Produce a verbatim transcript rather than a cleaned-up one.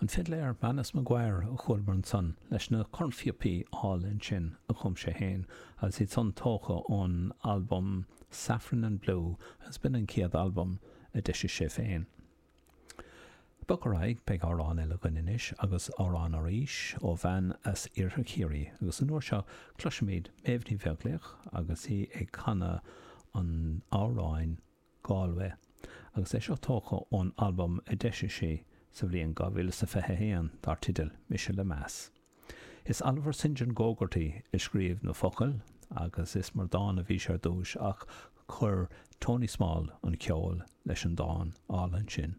An fidléir Manus McGuire a chualamar ansan leis na cornphíopaí álainn sin a chum sé féin agus iad san tógtha ón albam Saffron and Blue agus b'in an chéad albam a d'eisigh sé féin. Bog ar aghaidh, beidh amhrán eile againn anois agus amhrán arís ó bhean as Iarthar Chiarraí agus an uair seo cloisfimid Méabh Ní Bheaglaoich agus í ag canadh an amhráin Galway agus é seo tógtha ón albam a d'eisigh sí sa bhliain dhá mhíle is a fiche a haon dar teideal Mise le Meas. Is Oliver St John Gogarty a scríobh na focail agus is mar dán a bhí sé ar dtús ach chuir Tony Small an ceol leis an dán álainn sin.